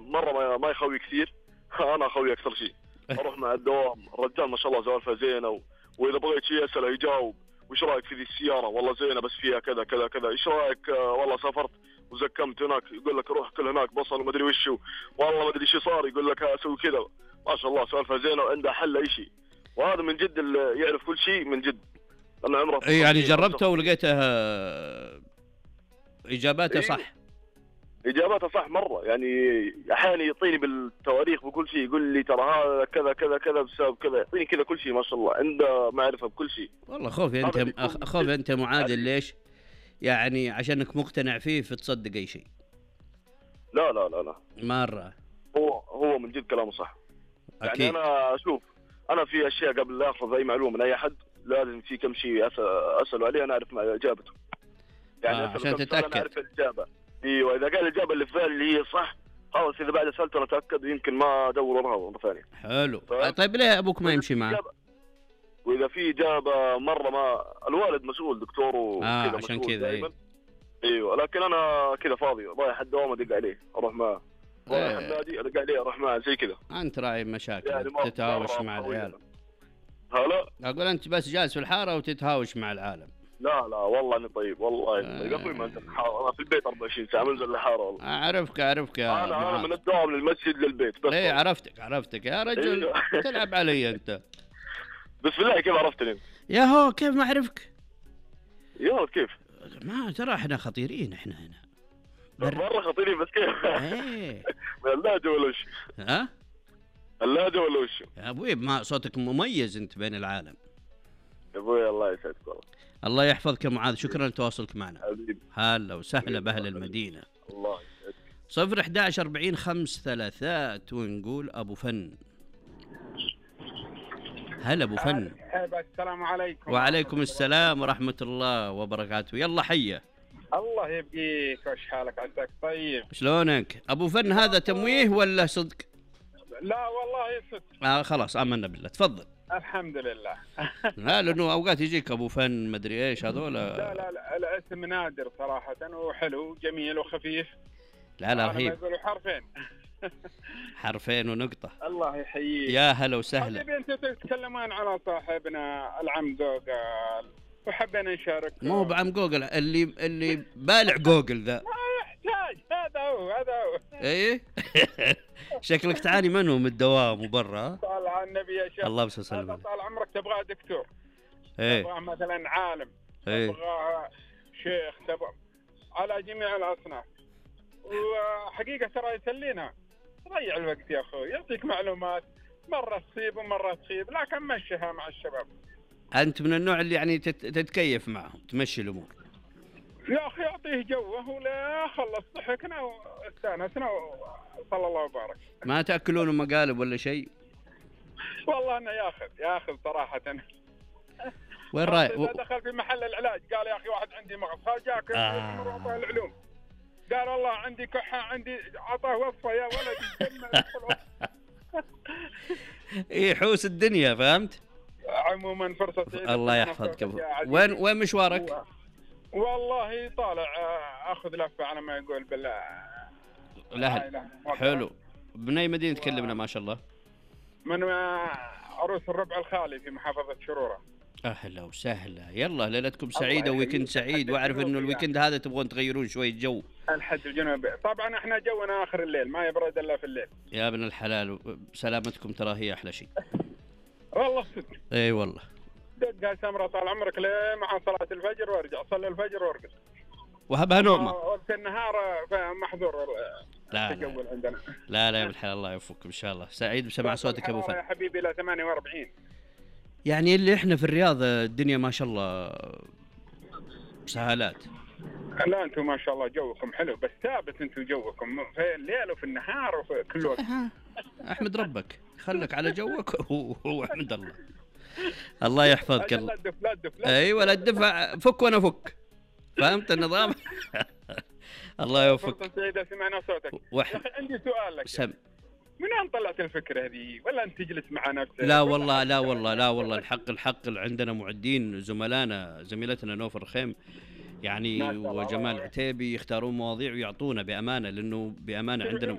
مرة ما يخوي كثير. أنا أخوي أكثر شيء. أروح مع الدوام، الرجال ما شاء الله سوالفه زينة، وإذا بغيت شيء أسأله يجاوب. وإيش رأيك في ذي السيارة؟ والله زينة بس فيها كذا كذا كذا. إيش رأيك والله سافرت وزكمت هناك، يقول لك روح كل هناك بصل وما أدري وشو، والله ما أدري شو صار، يقول لك أسوي كذا. ما شاء الله سوالفه زينة وعنده حل أي شيء. وهذا من جد اللي يعرف كل شيء من جد. أنا عمره يعني جربته ولقيته إجاباته صح؟ إجاباته صح مرة. يعني أحيانا يعطيني بالتواريخ بكل شيء، يقول لي ترى هذا كذا كذا كذا بسبب كذا، يعطيني كذا كل شيء. ما شاء الله عنده معرفة بكل شيء. والله خوفي أنت معادل. ليش؟ يعني عشانك مقتنع فيه فتصدق أي شيء. لا لا لا لا مرة. هو من جد كلامه صح. أكيد. يعني أنا أشوف، أنا في أشياء قبل لا أخذ أي معلومة من أي أحد لازم في كم شيء أسأله عليه أنا أعرف إجابته. يعني عشان تتأكد. أنا أعرف الإجابة. ايوه اذا قال الاجابه اللي في بالي اللي هي صح خلاص، اذا بعد سالته انا اتاكد يمكن ما ادور وراها مره ثانيه. حلو. طيب ليه ابوك ما يمشي معه؟ واذا في اجابه مره ما الوالد مسؤول دكتور وكذا عشان كذا. ايوه لكن انا كذا فاضي رايح الدوام ادق عليه اروح معه، رايح النادي ادق عليه اروح معه زي كذا. انت راعي مشاكل يعني تتهاوش مع العيال. هلا اقول انت بس جالس في الحاره وتتهاوش مع العالم. لا والله اني طيب، والله اني طيب. ما انت الحاره، انا في البيت 24 ساعه منزل الحاره والله. اعرفك يا انا من الدوام للمسجد للبيت بس. ليه عرفتك يا رجل. تلعب علي انت. بس بالله كيف عرفتني؟ يا هو كيف ما اعرفك؟ يا كيف؟ ما ترى احنا خطيرين احنا هنا. مرة خطيرين بس كيف؟ ايه اللهجة ولا وش؟ ها؟ اللهجة ولا وش؟ يا ابوي ما صوتك مميز انت بين العالم. يا ابوي الله يسعدك والله. الله يحفظك يا معاذ، شكرا لتواصلك معنا. حبيبي. هلا وسهلا باهل المدينة. الله يسعدك. 011 40 5 3 ونقول ابو فن. هلا ابو فن. السلام عليكم. وعليكم السلام ورحمة الله وبركاته. يلا حيه. الله يبقيك، وش حالك عساك طيب؟ شلونك ابو فن؟ هذا تمويه ولا صدق؟ لا والله صدق. خلاص آمنا بالله. تفضل. الحمد لله. لا لانه اوقات يجيك ابو فن مدري ايش هذول. لا الاسم نادر صراحة وحلو جميل وخفيف. لا رهيب. يقولوا حرفين. حرفين ونقطة. الله يحييك. يا هلا وسهلا. طيب انتم تتكلمون على صاحبنا العم جوجل وحبينا نشارك. مو هو بعم جوجل اللي بالع جوجل ذا. ما يحتاج، هذا هو. ايه. شكلك تعاني منه من الدوام وبرا. طالع النبي يا شيخ. الله يسلمك. طال عمرك تبغى دكتور. ايه. تبغى مثلا عالم. ايه. تبغى شيخ، تبغى على جميع الاصناف. وحقيقة ترى يسلينا. ضيع الوقت يا اخوي، يعطيك معلومات مرة تصيب ومرة تخيب، لكن مشيها مع الشباب. انت من النوع اللي يعني تتكيف معهم، تمشي الامور. يا اخي يعطيه جوه ولا خلص ضحكنا واستانسنا صلى الله وبارك. ما تاكلون مقالب ولا شيء؟ والله انه ياخذ صراحة. وين رايح؟ دخل في محل العلاج قال يا اخي واحد عندي مغص، جاك مرضى العلوم قال والله عندي كحة، عندي عطاه وصفة يا ولد. ايه حوس الدنيا فهمت؟ عموما فرصة سعيدة. الله يحفظك. وين مشوارك؟ والله طالع اخذ لفة على ما يقول بالله. لا حلو. من اي مدينة تكلمنا ما شاء الله؟ من عروس الربع الخالي في محافظة شرورة. اهلا وسهلا. يلا ليلتكم سعيدة وويكند سعيد، واعرف انه الويكند هذا تبغون تغيرون شوية جو. الحد الجنوبي طبعا احنا جونا اخر الليل، ما يبرد الا في الليل. يا ابن الحلال سلامتكم ترى هي احلى شيء. والله صدق. اي والله. دقها سمرة طال عمرك ليه مع صلاة الفجر وارجع صلي الفجر وارقص. وهبها نومة. وقت النهار محظور. لا عندنا. لا يا ابن الحلال الله يوفقك ان شاء الله. سعيد بسمع صوتك ابو فن. يا حبيبي الى 48. يعني اللي احنا في الرياض الدنيا ما شاء الله سهالات. لا انتم ما شاء الله جوكم حلو، بس ثابت انتم جوكم في الليل وفي النهار وفي كل وقت. احمد ربك خلك على جوك واحمد الله. الله يحفظك. لا تدف. ايوه لا تدفع، فك وانا فك. فهمت النظام؟ الله يوفقك. سعيدة سمعنا صوتك. يا اخي عندي سؤال لك. من وين طلعت الفكرة هذه؟ ولا انت تجلس مع نفسك؟ لا والله الحق عندنا معدين زملائنا، زميلتنا نوفر خيم يعني وجمال عتيبي يختارون مواضيع ويعطونا بأمانة، لأنه بأمانة عندنا